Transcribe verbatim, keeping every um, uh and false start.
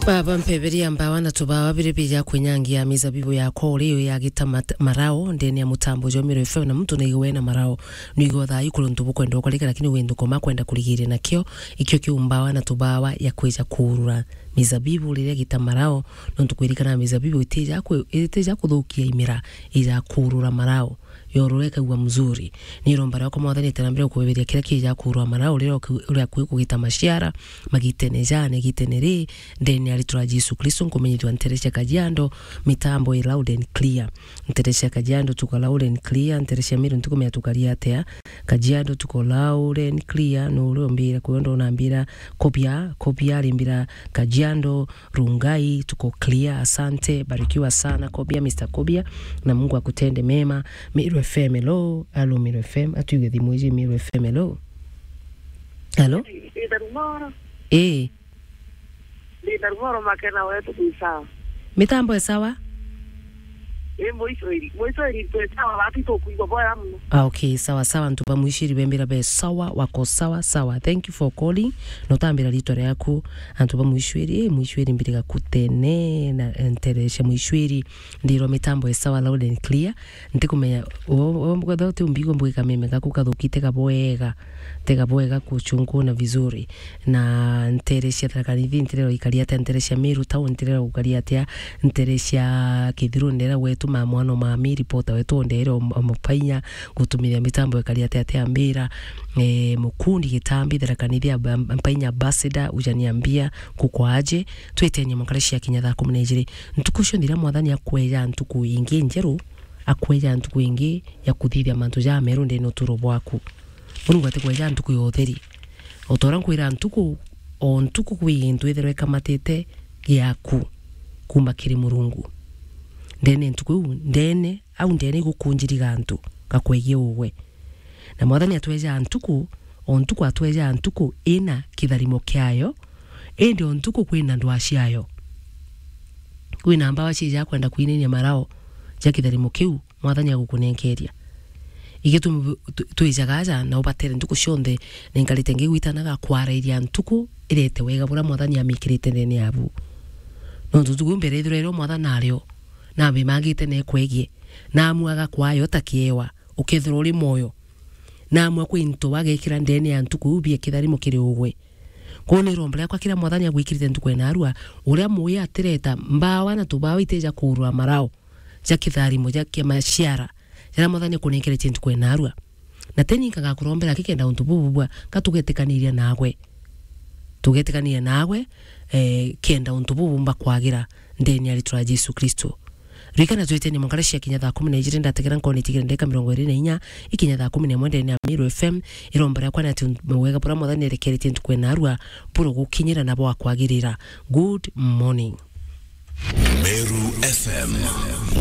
Baba, mpeberia mbawa na tubawa biri bija kwinyangia mizabibu yakwa uri yo ya gita mat-, marao, ndene ya mutambo jwa Meru F M, na muntu naigwe na marao. Nigo thaa ikuru ntu bukwenda ukarika, lakini windu koma kwenda kurigire nakio, ikio kiu mbawa na tubawa ya kwija kurura mizabibu riria gita marao, nontu kwirikana mizabibu itija kwi-, itija kuthukia imira, ija kurura marao. Yorore ikagua mzuri. Ni iromba riakwa Mwathani, ite na mbere kubeberia kiria kija kurwa marao, uria uki-, uria akui kugita maciara, magitene jane, gitene ri, ndene ya ritwa ria Jesu Kristo, nkumenyithua ntere cia Kajiado, mitambo i loud and clear. Ntere cia Kajiado tuko loud and clear, ntere cia Meru ntukumenya tukaria atia. Kajiado tuko loud and clear, no uria umbira, kwa hiyo ndo unambira, Kobia, Kobia, rimbira Kajiado, Rungai, tuko clear, asante, barikiwa sana, Kobia, Mister Kobia, na Mungu akutende mema. Meru F M, hello, hello, Meru F M, atuige thimu iji, Meru F M, hello. Hello? Ndina rumoro. Eh. Ndina rumoro, Makena wetu kwi sawa. Mitambo e sawa? Ii, Muicwiri. Muicwiri twi sawa, bati tukwigua bwega muno. Ah, okay, sawa sawa, antu ba Muicwiri bembira be sawa, wako sawa sawa. Thank you for calling. Notambira ritwa riaku, antu ba Muicwiri, eh, Muicwiri mbiriga kutene na, eh, ntere cia Muicwiri. Ndirwa mitambo e sawa, loud and clear. Ntikumenya, o, o, kwethirwa uti umbigo mbwika meme gaku kathukite kabwega. Tega bwega kuchunguna vizuri. Na ntere cia Tharaka Nithi, ntere ikaria atia, ntere cia Meru Town, ntere gukaria atia, ntere cia Kithiru, ndera wetu ma mwana ma mi, reporter wetu, ndere o, o Mupainya, gutumiria mitambo ikaria atia, atia mbira, eh, Mukundi Gitambi, Tharaka Nithi, Ab-, Mpainya Ambassador, ujaniambia, kukwaje, twitenie mukare cia kinya thaa kumi na ijiri. Ntuku cio ndira Mwathani akweja ntuku ingi njeru, akweja ntuku ingi ya kuthithia mantu ja meru ndene uturo bwaku. Murungu atikweja ntuku ya utheri. O ta uria nkwira ntuku, o ntuku kwi gintu ithirwa ikamatite giaku kuma kiri Murungu. Ndene ntuku iu, ndene, au ndene igukunjiriga antu, gakwegie ugwe. Na Mwathani atwejaa ntuku, o ntuku atwejaa ntuku ina kitharimo kiayo, indi o ntuku kwina ndwaa ciayo. Kwina mbawa cijaa kwenda kwinainia marao ja kitharimo kiu, Mwathani agukunenkeria. Igitumi bu-, tu-, twijaga aja na ubatere ntuku cionthe, na inkarite ngigwitanaga kwarairia ntuku irete wega buria Mwathani amikirite ndene yabu. Nontu ntuku iu mbere ithirwa irio Mwathani ario, na abimangite na ekwegie, na amuaga kwayo ta kiewa, ukethirwa uri mwoyo, na amwe kwi into bagekira ndene ya ntuku iu bia kitharimo kiri ugwe. Kwou ni iromba riakwa kiria Mwathani agwikirite ntuku ya narua, uria muya atireta mbawa na tubawa itija kuurwa marao ja kitharimo ja kia maciara jaria Mwathani akunenkeretie ntuku ya narua. Na teni nkagakurombera ki kenda untu bubu bwa, ka tugetikaniria nagwe. Tugetikaniria nagwe, eh, kenda untu bubu bumba kwagira ndene ya ritwa ria Jesu Kristo. Ririkana twiteni mwankara cia kinya thaa kumi na ijiri, ndategera nkoni tigire ndeka mirongo iri na inya, ikinya thaa kumi na imwe ndene ya Meru F M, iromba riakwa ni ati wega buria Mwathani erekeretie ntuku ya narua, buro gukinyira na bwa kwagirira. Good morning. Meru F M.